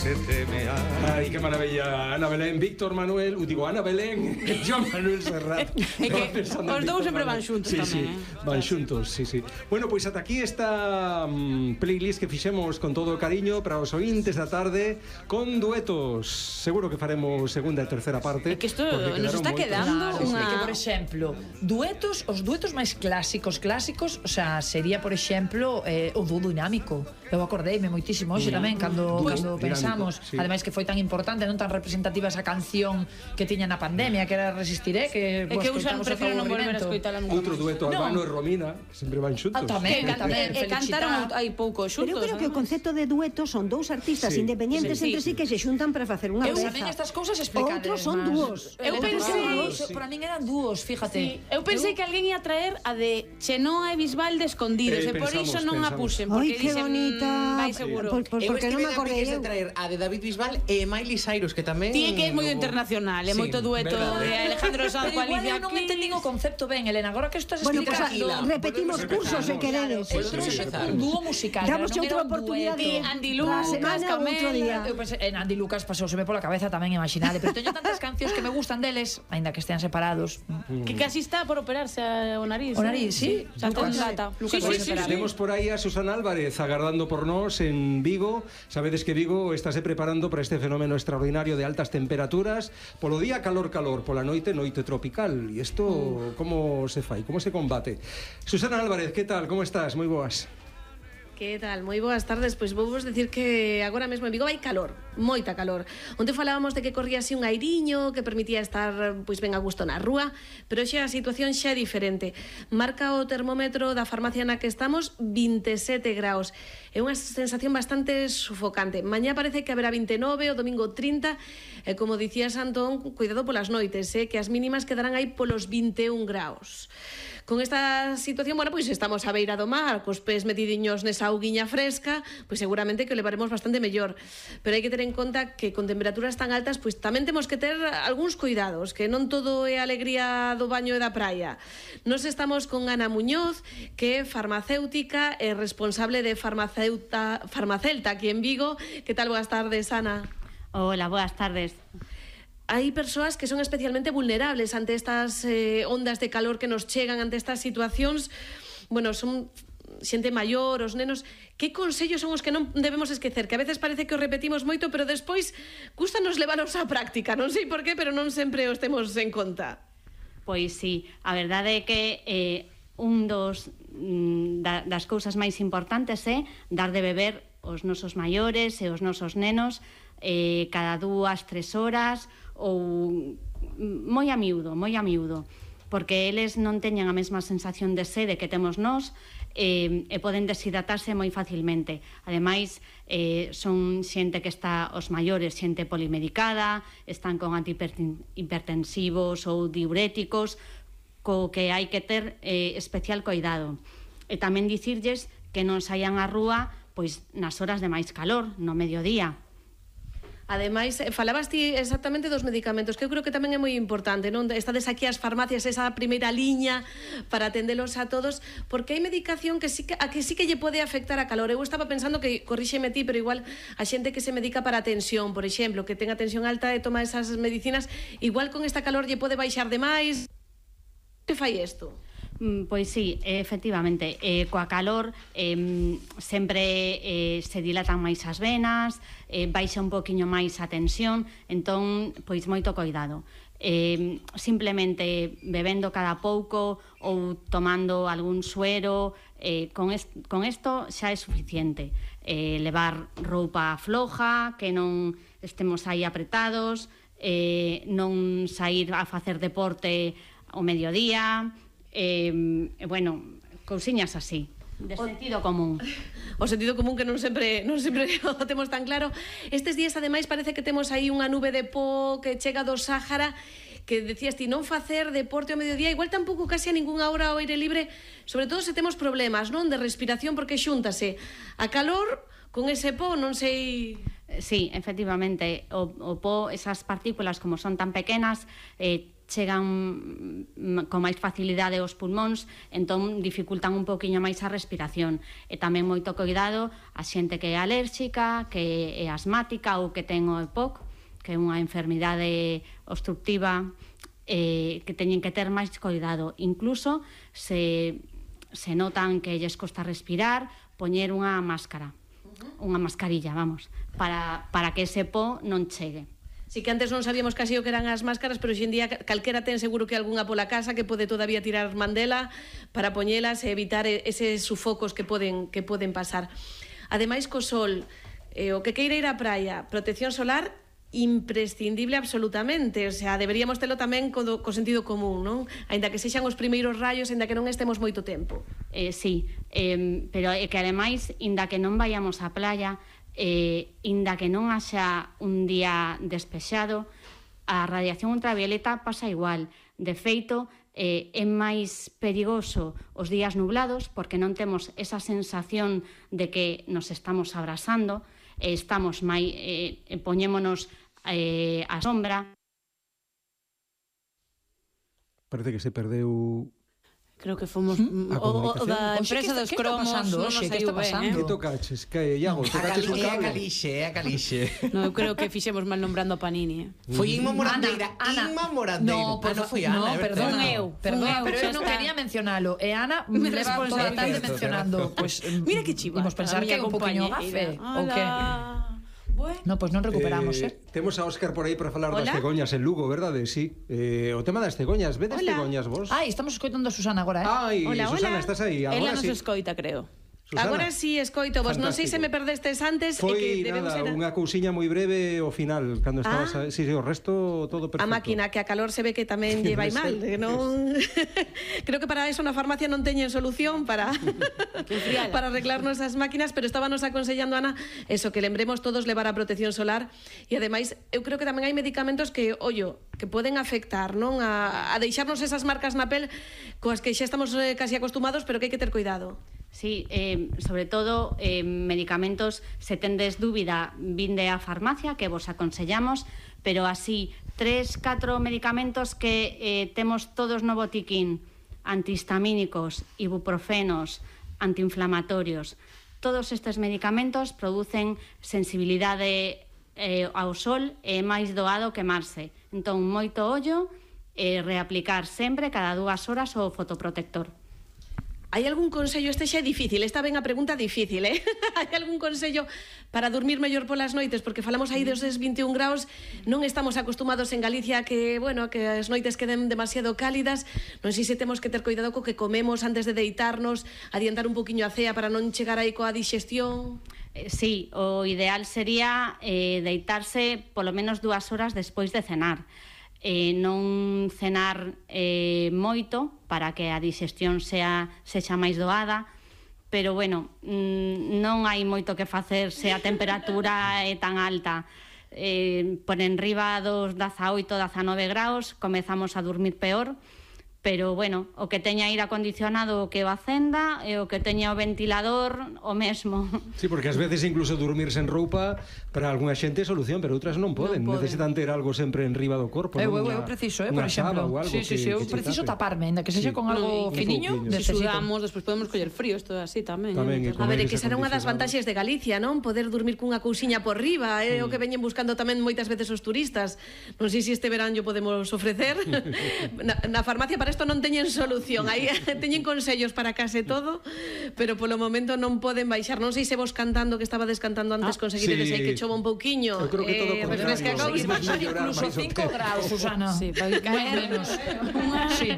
se temea. Ai, que maravilla, Ana Belén, Víctor Manuel, digo, Ana Belén, Joan Manuel Serrat. Os dous sempre van xuntos tamén, van xuntos, sí. Bueno, pois ata aquí esta playlist que fixemos con todo o cariño para os ointes da tarde, con duetos. Seguro que faremos segunda e terceira parte. É que isto nos está quedando unha... que, por exemplo, duetos, os duetos máis clásicos, o sea, sería, por exemplo, o dúo dinámico. Eu acordeime moitísimo hoxe tamén cando pensamos, sí. Ademais que foi tan importante, non tan representativa esa canción que tiña na pandemia, que era Resistiré, que é que eu prefiro non volver a escoitala nunca. Outro dueto, Albano e Romina, sempre van xuntos. Tamén, cantaron hai pouco xuntos. Pero eu creo que o concepto de dueto son dous artistas independientes entre sí que se xuntan para facer unha peza. Eu tamén estas cousas explicadas. Outros son dúos. Eu pensei, para min eran dúos, fíjate. Eu pensei que alguén ia traer a de Chenoa e Bisbal de Escondidos, e por iso non a puxen, porque que bonita. Vai seguro. Porque non me acordei eu. traer a de David Bisbal e Miley Cyrus, que tamén... Ti que é moi internacional, é moito dueto de Alejandro Sanz coa Alicia Keys. Non entendín o concepto ben, Elena, agora que estás explicando. Repetimos cursos se queredes. Un dúo musical. Damos outra oportunidade. Andy Lucas, Camela. Eu pensei, en Andy Lucas pasouseme pola cabeza tamén, imaginade, pero teño tantas cancións que me gustan deles, aínda que estean separados. Que casi está por operarse o nariz. O nariz, sí. Lucas, temos por aí a Susana Álvarez agardando por nós en Vigo. Sabedes que Vigo estáse preparando para este fenómeno extraordinario de altas temperaturas. Polo día calor, pola noite tropical. E isto como se fai? Como se combate? Susana Álvarez, que tal? Como estás? Moi boas. Que tal? Moi boas tardes. Pois vou vos decir que agora mesmo en Vigo vai calor, moita calor. Onte falábamos de que corría así un airiño que permitía estar pois ben a gusto na rúa, pero xa a situación xa é diferente. Marca o termómetro da farmacia na que estamos 27 graus. É unha sensación bastante sufocante. Mañá parece que haberá 29, o domingo 30, e como dicía Santón, cuidado polas noites, que as mínimas quedarán aí polos 21 graus. Con esta situación, bueno, pois estamos á beira do mar, cos pés metidiños nesa auguiña fresca, pois seguramente que o levaremos bastante mellor. Pero hai que ter en conta que con temperaturas tan altas, pois tamén temos que ter algúns cuidados, que non todo é alegría do baño e da praia. Nos estamos con Ana Muñoz, que é farmacéutica e responsable de Farmacelta aquí en Vigo. Que tal? Boas tardes, Ana. Hola, boas tardes. Hai persoas que son especialmente vulnerables ante estas ondas de calor que nos chegan, ante estas situacións. Bueno, son xente maior, os nenos. Que consellos son os que non debemos esquecer? Que a veces parece que os repetimos moito, pero despois custanos levaros á práctica. Non sei por qué, pero non sempre os temos en conta. Pois sí, a verdade é que un das cousas máis importantes é dar de beber os nosos maiores e os nosos nenos cada 2-3 horas ou moi a miúdo, porque eles non teñen a mesma sensación de sede que temos nós e poden deshidratarse moi facilmente. Ademais, son xente que está, os maiores, xente polimedicada, están con antihipertensivos ou diuréticos, co que hai que ter especial cuidado. E tamén dicirlles que non saian á rúa pois nas horas de máis calor, no mediodía. Ademais, falabas ti exactamente dos medicamentos, que eu creo que tamén é moi importante, non? Estades aquí as farmacias, esa primeira liña para atendelos a todos, porque hai medicación que sí que lle pode afectar a calor. Eu estaba pensando que, corríxeme ti, pero igual a xente que se medica para a tensión, por exemplo, que ten a tensión alta e toma esas medicinas, igual con esta calor lle pode baixar demais. Que fai isto? Pois sí, efectivamente, coa calor sempre se dilatan máis as venas, baixa un poquinho máis a tensión, entón, pois moito cuidado. Simplemente bebendo cada pouco ou tomando algún suero, con isto xa é suficiente. Levar roupa floja, que non estemos aí apretados, non sair a facer deporte ao mediodía, bueno, cousiñas así, de sentido común. O sentido común que non sempre o temos tan claro. Estes días, ademais, parece que temos aí unha nube de pó que chega do Sáhara, que decías ti, non facer deporte ao mediodía, igual tampouco case a ningunha hora ao aire libre, sobre todo se temos problemas, non, de respiración, porque xúntase a calor con ese pó, non sei... Sí, efectivamente, o pó, esas partículas, como son tan pequenas, chegan con máis facilidade aos pulmóns, entón dificultan un poquinho máis a respiración. E tamén moito cuidado a xente que é alérxica, que é asmática ou que ten o EPOC, que é unha enfermidade obstructiva, que teñen que ter máis cuidado. Incluso se notan que lles costa respirar, poñer unha máscara, unha mascarilla, vamos, para que ese po non chegue. Sí que antes non sabíamos casi o que eran as máscaras, pero hoxe en día calquera ten seguro que algunha pola casa que pode todavía tirar mandela para poñelas e evitar eses sufocos que poden pasar. Ademais, co sol, o que queira ir á praia, protección solar imprescindible absolutamente, o sea, deberíamos telo tamén co sentido común, non? Aínda que sexan os primeiros rayos, aínda que non estemos moito tempo. Sí, pero é que ademais, aínda que non vayamos á playa, aínda que non haxa un día despexado, a radiación ultravioleta pasa igual. De feito, é máis perigoso os días nublados porque non temos esa sensación de que nos estamos abrasando, estamos poñémonos a sombra. Parece que se perdeu... Creo que fomos o da empresa dos cromos, non nos saiu ben. Que tocaches? Que, Iago, tocaches un cable? A Calixe. No, eu creo que fixemos mal nombrando a Panini. Foi Inma Morandeira. Inma Morandeira. No, foi Ana. No, perdón, pero eu non quería mencionalo. E Ana me leva toda a tarde mencionando. Mira que chiva. Imos pensar que é un poquinho gafe. O que? No, pois non recuperamos, Temos a Óscar por aí para falar das cegoñas en Lugo, verdade? Sí. O tema das cegoñas, vedes cegoñas vos? Ai, estamos escoitando a Susana agora, Ai, Susana, estás aí. Ela nos escoita, creo. Susana. Agora sí escoito vos, non sei se me perdestes antes. Foi nada, unha cousiña moi breve ao final, cando estabas... Sí, o resto todo perfecto. A máquina, que a calor se ve que tamén lle vai mal. Non... Creo que para eso na farmacia non teñen solución para arreglarnos as máquinas, pero estábamos aconsellando, Ana, eso, que lembremos todos levar a protección solar. E ademais, eu creo que tamén hai medicamentos que, que poden afectar, non? A deixarnos esas marcas na pel coas que xa estamos casi acostumados, pero que hai que ter cuidado. Sí, sobre todo medicamentos, se tendes dúbida, vinde á farmacia, que vos aconsellamos, pero así 3-4 medicamentos que temos todos no botiquín: antihistamínicos, ibuprofenos, antiinflamatorios. Todos estes medicamentos producen sensibilidade ao sol e é máis doado quemarse. Entón, moito ollo e reaplicar sempre cada 2 horas o fotoprotector. Hai algún consello? Este xa é difícil, esta ven a pregunta difícil, Hai algún consello para dormir mellor polas noites? Porque falamos aí dos 21 graus, non estamos acostumados en Galicia que, que as noites queden demasiado cálidas. Non sei se temos que ter cuidado co que comemos antes de deitarnos, adiantar un poquinho a cea para non chegar aí coa digestión. Sí, o ideal sería deitarse polo menos 2 horas despois de cenar. Non cenar moito para que a digestión sexa máis doada, pero bueno, non hai moito que facer se a temperatura é tan alta. Por enriba dos 18, 19 graus comezamos a dormir peor, pero bueno, o que teña aire acondicionado o que o acenda e o que teña o ventilador o mesmo. Sí, porque ás veces incluso dormir sen roupa para algunha xente é solución, pero outras non poden. Necesitan ter algo sempre en riba do corpo. Eu preciso, por exemplo. Sí, eu preciso taparme, ainda que sexa con algo finiño. Se sudamos, despois podemos coller frío, isto así tamén. A ver, que será unha das vantaxes de Galicia, non? Poder dormir cunha cousiña por riba, o que veñen buscando tamén moitas veces os turistas. Non sei se este verán yo podemos ofrecer. Na farmacia para isto non teñen solución, aí teñen consellos para case todo, pero polo momento non poden baixar. Non sei se vos cantando, que estaba descantando antes, conseguiredes aí que chova un pouquiño. Eu creo que todo o contrario. Incluso 5 graus, Susana. Sí, para caer menos. Sí.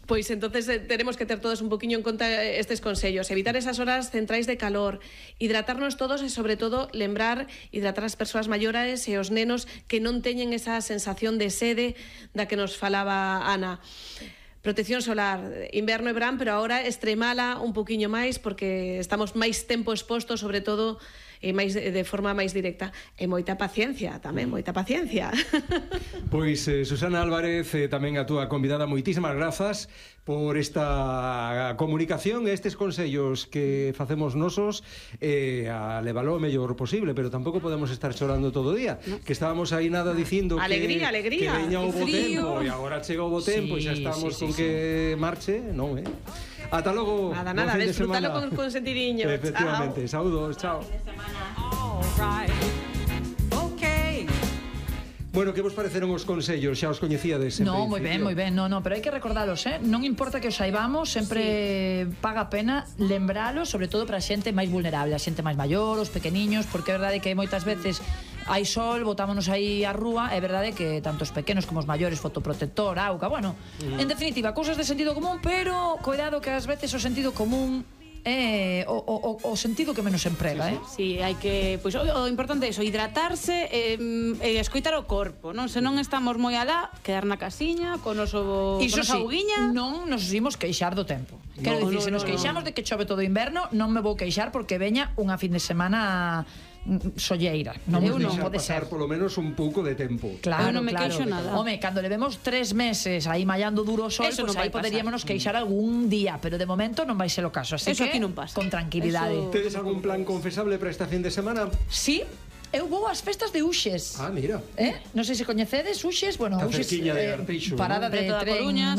Pois entonces tenemos que ter todos un poquinho en conta estes consellos, evitar esas horas centrais de calor, hidratarnos todos e sobre todo lembrar hidratar as persoas maiores e os nenos que non teñen esa sensación de sede da que nos falaba Ana. Protección solar, inverno e verán, pero agora extremala un poquinho máis porque estamos máis tempo expostos, sobre todo de forma máis directa. E moita paciencia tamén, moita paciencia. Pois Susana Álvarez, tamén a túa convidada, moitísimas grazas por esta comunicación e estes consellos que facemos nosos a levalo o mellor posible, pero tampouco podemos estar chorando todo o día, que estábamos aí nada dicindo alegría, que veña o bo tempo e agora chega o bo tempo e xa estamos con que marche, non, Ata logo. Nada, desfrútalo con sentiriño. Efectivamente, saúdos, chao. Bueno, que vos pareceron os consellos? Xa os coñecíades? No, moi ben, no, pero hai que recordalos, non importa que os saibamos, sempre paga a pena lembralos, sobre todo para a xente máis vulnerable, a xente máis maior, os pequeniños, porque é verdade que moitas veces hai sol, botámonos aí á rúa, é verdade que tanto os pequenos como os maiores, fotoprotector, auga, bueno, en definitiva, cousas de sentido común, pero cuidado que ás veces o sentido común o sentido que menos emprega, Sí, hai que, pois o importante é iso, hidratarse e escoitar o corpo, non? Se non estamos moi alá, quedar na casiña con nosa auguiña. Non nos imos queixar do tempo. Quero dicir, se nos queixamos de que chove todo o inverno, non me vou queixar porque veña unha fin de semana solleira. Non pode ser. Polo menos un pouco de tempo. Claro, non me queixo nada. Home, cando levemos 3 meses aí mallando duro o sol, pois aí poderíamos queixar algún día, pero de momento non vai ser o caso, así que non pasa. Con tranquilidade. Tedes algún plan confesable para esta fin de semana? Sí. Eu vou ás festas de Uxes. Ah, mira. Non sei se coñecedes Uxes, bueno, a Uxes cerquiña de Arteixo, parada de tren, Coruña,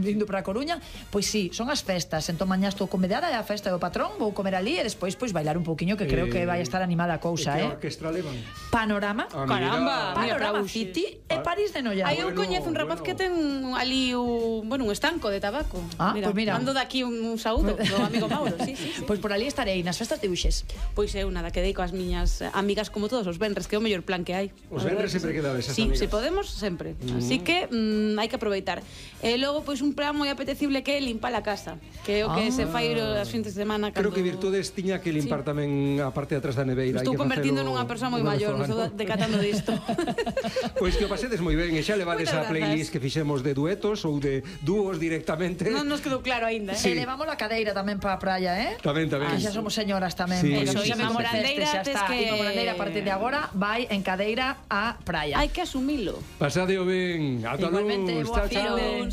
indo para a Coruña. Pois sí, son as festas. Entón mañá estou convidada a festa do patrón, vou comer ali e despois pois bailar un pouquiño, que creo que vai estar animada a cousa, Que orquestra levan? Panorama. Caramba, Panorama City e París de Noia. Aí eu coñezo un rapaz que ten ali un estanco de tabaco. Pois mira. Mando daqui un saúdo do amigo Mauro, sí. Pois por ali estarei nas festas de Uxes. Pois eu nada, quedei coas miñas amigas como todos os venres, que é o mellor plan que hai. Os venres sempre quedades esas Sí, amigas. se podemos, sempre. Así que hai que aproveitar. E logo, pois, un plan moi apetecible que é limpar a casa, que é o que se fai as fins de semana. Creo que Virtudes tiña que limpar tamén a parte de atrás da neveira. Estou convertindo nunha persoa moi maior, estou decatando disto. Pois que o pasedes moi ben, e xa levades a playlist que fixemos de duetos ou de dúos directamente. Non nos quedou claro aínda, E levamos a cadeira tamén para a praia, Tamén. Que xa somos señoras tamén. Sí, Eso, sí, Ima Morandeira, Morandeira a partir de agora vai en cadeira a praia. Hai que asumilo. Pasadeo ben. Ata Igualmente, luz. boa Chao, chao. fin.